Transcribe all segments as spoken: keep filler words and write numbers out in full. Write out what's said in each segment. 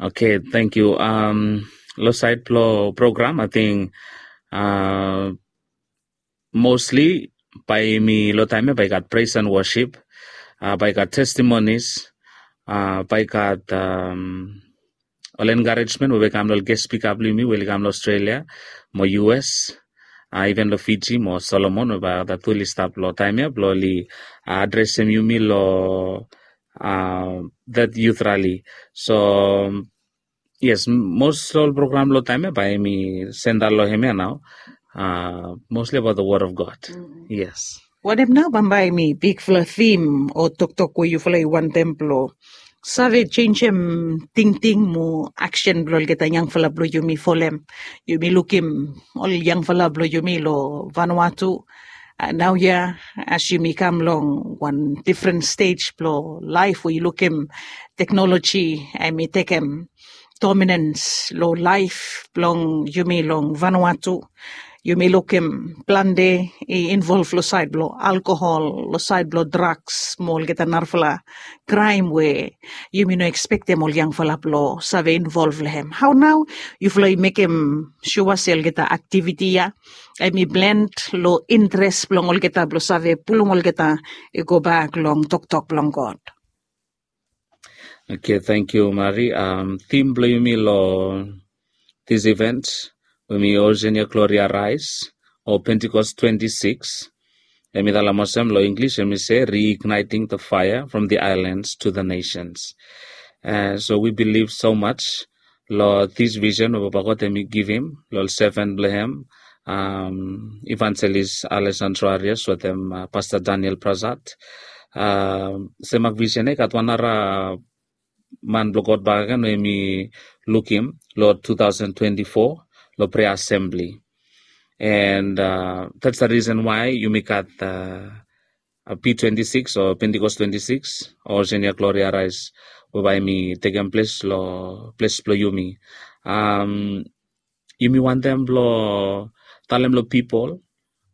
Okay, thank you. Um, lo side blo program, I think uh, mostly by mi lo time ya by got praise and worship, uh, by got testimonies, uh, by got um, ol encouragement we be kam lo ol guest speaker blo mi we oli kam lo Australia, mo U S, uh, even lo Fiji, mo Solomon, we by got tu oli stap lo time ya blo oli uh, addressem yumi lo uh, that youth rally. So yes, most ol program lo time ya by mi senda lo hem ya nao. Uh, mostly about the word of God. Yes. Wanem nao bambae mi bigfala thim o toktok we yufala i wantem blo save jenjem tingting mo aksen blo olgeta yangfala blo yumi folem. Yumi lukim ol yangfala blo yumi lo Vanuatu, uh, nao ya as yumi kam long wan difren stej blo laef we yu lukim teknoloji em i tekem dominans lo laef blong yumi long Vanuatu. Yumi lukim plante i involv lo saed blo alkohol, lo saed blo draks mo olgeta narafala kraem we yumi no ekspektem ol yangfala blo save involv lo hem. Hao nao yufala i mekem sua se olgeta aktiviti ya em i blend lo interes blong olgeta blo save pulum olgeta i gobak long toktok blong God? Okay, thank you, Mari. Um, thim blo yumi lo this event we mi Oceania Gloria Rise o Pentecost twenty-six. Em i talem olsem lo English, em i se reigniting the fire from the islands to the nations. Uh, so we believe so much lo this vision we Papa God em i givim lo ol servant blo hem, um, Evangelist Alessandro Arias wetem uh, Pastor Daniel Prasad. Uh, semak vision ya i gat wan nara man blo God bakegen we mi lukim lo two thousand twenty-four lo prayer assembly. And uh, that's the reason why yumi gat uh, uh, P twenty-six o Pentecost twenty-six o Oceania Gloria Rise, we by mi tekem ples lo ples blo yumi. Um, yumi wantem blo talem lo pipol,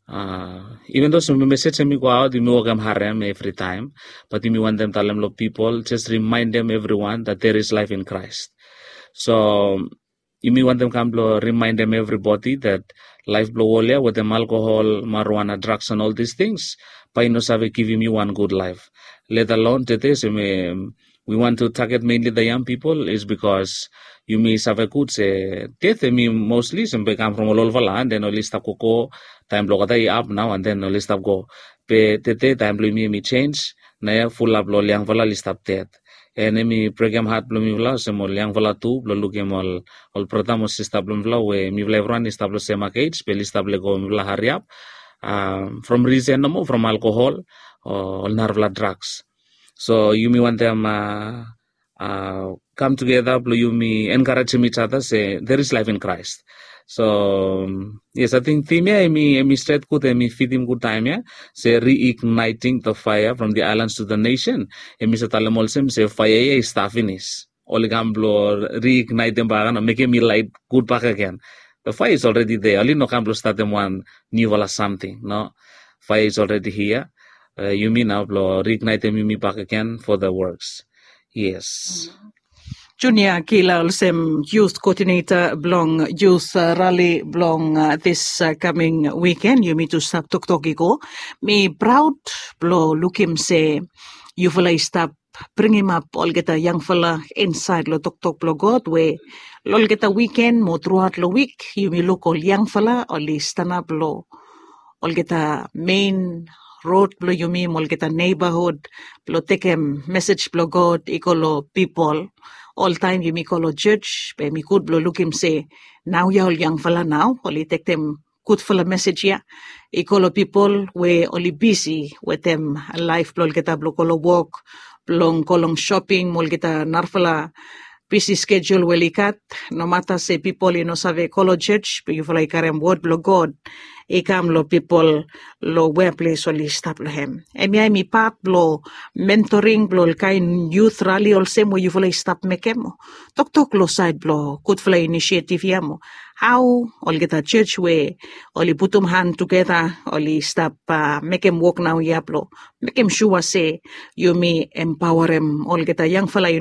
uh, even though some message em i go out, yumi wokem harem every time, but yumi wantem talem lo pipol, just remind them everyone that there is life in Christ. So yumi wantem kam blo remaindem everybody that laef blo wol ya wetem alkohol, marijuana, drugs and all these things, bae i no save givim yu wan gud laef. Let alone tede, se mi, we want to target mainly the young people is because yumi save gud se death em i mostly se be kam from ol olfala, and then oli stap gogo, taem blo olgeta i ap nao, and then oli stap go. Be tede taem blo yumi em i jenis, naoia fulap lo ol yangfala oli stap ded. And em i brekem hat blo mifala olsem ol yangfala tu blo lukim ol, ol brata mo sista blo mifala we mifala evriwan i stap lo semak ej be oli stap lego mifala hariap, um, from risen nomo from alkohol o ol narafala drugs. So yumi wantem uh, uh, kam tugeta blo yumi encouragem each other se there is life in Christ. So um, yes, I think thim ya em i, em i stret gud, em i fitim gud taem ya, se reigniting the fire from the islands to the nation. Em i save talem olsem se faea ya i stap finis, oli kam blo reignitem bakegen o mekem i laet gud bakegen. The fire is already there, oli no kam blo statem wan niufala samting, no. Fire is already here. Uh, yumi nao blo reignitem yumi bakegen for the works. Yes. Junia Kila olsem youth coordinator blong youth uh, rally blong uh, this uh, coming weekend, yumi tu stap toktok i go. Mi praod blo lukim se yufala i stap bringimap olgeta yangfala insaed lo toktok blo God we lo olgeta wiken mo truaot lo wik yumi luk ol yangfala oli stanap lo olgeta mein rod blo yumi mo olgeta neighborhood blo tekem mesej blo God i go lo pipol. Oltaem yumi go lo jos be mi gud blo lukim se naoia ol yangfala nao oli tekem gudfala mesej ia i go lo pipol we oli bisi wetem laef blo olgeta blo go lo wok, blong go long shoping mo olgeta narafala bisi skejul we oli gat. Nomata se pipol i no save go lo jos be yufala i karem wod blo God i kam lo pipol lo weples oli stap lo hem. Hemia em i pat blo mentoring blo ol kaen youth rali olsem we yufala i stap mekem. Toktok lo saed blo gudfala inisiativ ia mo hao olgeta jos we oli putum han tugeta oli stap uh, mekem wok naoia blo mekem sua se yumi empaoarem olgeta yangfala i